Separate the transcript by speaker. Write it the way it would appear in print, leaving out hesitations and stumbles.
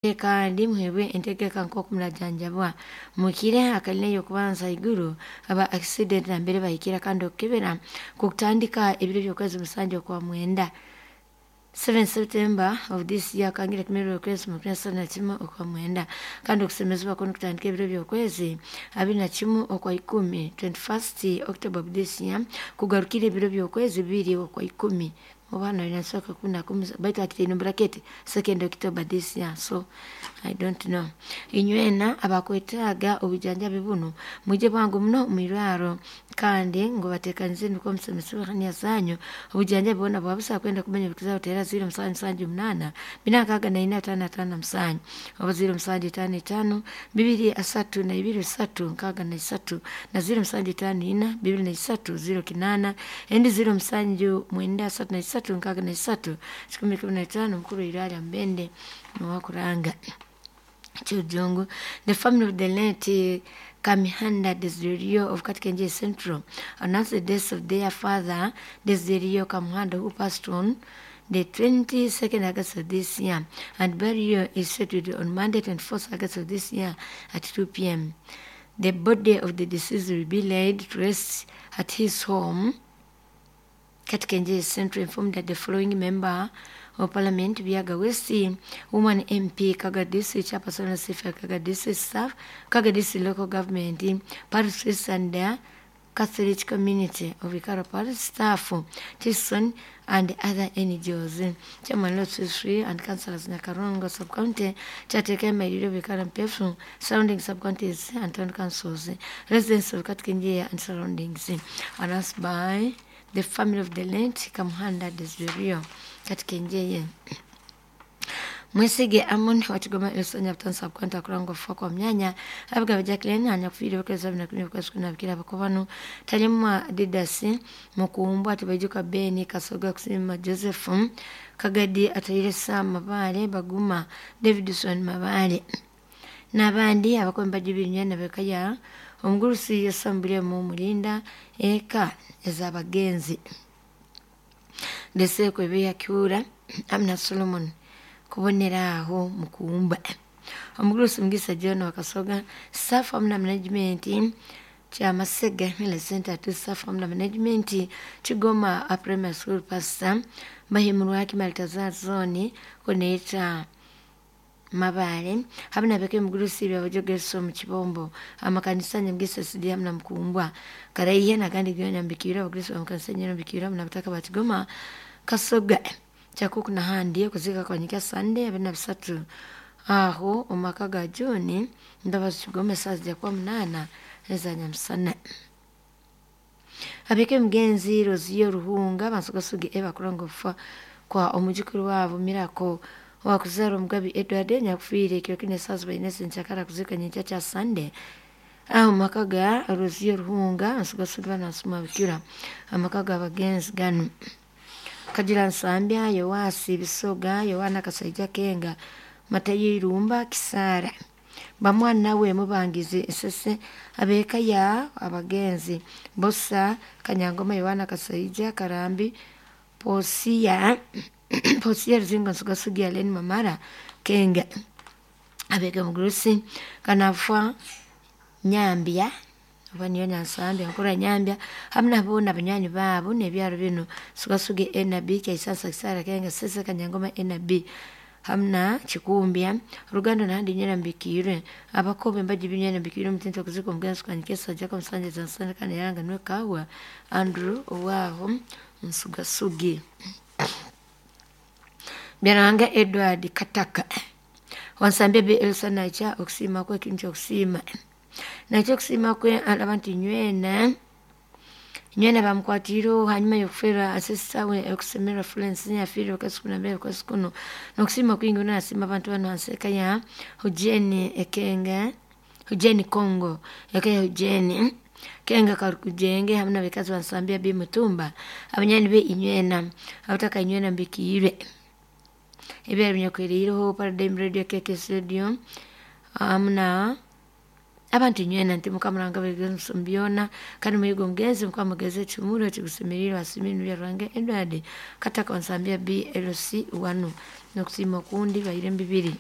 Speaker 1: Kandi muheebwe entegeka nk'oku murajanjabwa mukire akalina ey'okubanza haiguru aba accident nambere bahikira kandi okukebera kukutandika ebiro by'okwezi musanju okwa mwenda 7 September of this year kangira kimerero okwezi makumi asatu na kimwe okwa mwenda kandi okusemezebwa kunu kutandika ebiro by'okwezi abiri na kimu okwa ikumi 21st October of this year kugarukira ebiro by'okwezi bibiri okwa ikumi oba nasoka kumi na kumi baitu akitaine bracket 2nd October this year, so I don't know. Inywena abakwetaaga obujanjabi bunu mwije bwangu muno mwirwaro kandi ngu batekanize nukwo musemesebwe hania zanyu obujanjabi bwona bwabusa. Kwenda kumanya bikuzaho tera 0778 464 557 oba 0755 232 363 na 0754 23 08 endi 0793 363 115. Mukuru irwaro mbende niwakuranga Chujungu. The family of the late Kamihanda Desiderio of Katkenje Central announced the death of their father, Desiderio Kamuhanda, who passed on the 22nd August of this year, and burial is scheduled on Monday, 24th August of this year at 2 p.m. The body of the deceased will be laid to rest at his home. Katkenje Central informed that the following member of Parliament, Biaga West, Woman MP, Kaga District, Chairperson of Kaga District Staff, Kaga District Local Government, Paris and the Catholic Community of Ikaro Parish Staff, Tison and other NGOs. Chairman Lot Free and Councillors Nakarongo Sub-County, Chateke Mairiro Vikara Mpefu, surrounding sub-counties and town councils, residents of Katkenjea and surroundings. Announced by the family of the late Kamuhanda Desiderio Katkenjeye. Mwesige Amon wa Kigoma Elson Nyabutansi Sub-County akurangwa kufa kwa myanya Abigaba Jacqueline anyakufiire okwezi abiri na kumi okwezi kumi nabikira abakobanu Talimwa Didasi Mukumbwa Tibaijuka Beni Kasoga Kusima Joseph Kagadi Atayire Sam Mabale Baguma Davidson Mabale n'abandi abakombe bajubinywa nabekaya omugurusi yasambulye mu mulinda eka ez'abagenzi ndetse kwebeyakyura Amina Solomon kubonera aho mukumba omugurusi Mugisa John Wakasoga staff amna management Kyamasega Miller Center to staff amna management Kigoma Primary School Pastor Bahimurwaki Maltazar Zone kuneeta Mabale hamwe nabeke mugurusi byabajogeso mu kibombo amakanisa nyamgisa sidi hamna mkumbwa karaihe nagandi gyo nyambikira abagristo amakanisa nyambikira mnabutaka batigoma Kasoga kyakuku nahandi okuzika kwanyika Sunday 23 aho omumaka ga John Ndabazi Kigoma esaaha zijja kuba 8 eza nyamusana. Abeke mugenzi Roziyo Ruhunga bansugasugye ebakuranga okufa kwa omujukuru waabo Miracle owakuzaara Omugabi Edward nyakufiire ekiro kinu esaaha 4 enkyakara kuzika nyenkya kya Sunday aho mumaka ga Roziyo Ruhunga nsugasugye banansuma bikira amaka g'abagenzi ganu. Kagira Nsambya Yoasi Bisoga Yohana Kasaija Kenga Matayo Irumba Kisara bamwana we Mubangizi Esese abeka ya abagenzi Bosa Kanyangoma Yohana Kasaija Karambi Posiya Posiya Ruzingo Nsugasugya Aleni Mamara Kenga abeka mugurusi Kanafwa Nyambya oba niyo Nyansambya nkura Nyambya hamwe nabo na banywanyi baabo n'ebyaro binu Sugasuge NB Kyaisansa Kisara Kenga Sese Kanyangoma NB hamna Kikumbya Rugando nahandi nyena mbikirwe abakobe mbaji binyena mbikirwe omutinto okuzika omugenzi kwanyikesa Jacob Nsanja Zansana kandi yaranga niwe Kawa Andrew owaho Nsugasuge Byaranga Edward Kataka wansambye be Elsa nakya okusiima kwe ekintu kyokusiima nakyo okusiima kwe alaba nti nywena nywena bamukwatiire hanyuma y'okuferwa ancestor we okusemererwa Florence yafiire okwezi kumi na mbiri okwezi kuno n'okusiima kwingi nasiima abantu banu hansi eka ya Hujeni Ekenga Hujeni Congo eka ya Hujeni Kenga Karukujenge hamwe n'abakazi bansambya B Mutumba abanywani be inywena abataka inywena mbikiirwe ebyaro binyakweriireho Paradigm Radio KKS Radio hamwe abantu nywena nti mukamuranga byona kandi muyiga omugenzi mukamugeza ekihumuro ekigusemeriire asimire Byaruhanga Edward Kataka wansambya BLC 1 n'okusiima okundi baire mbibiri.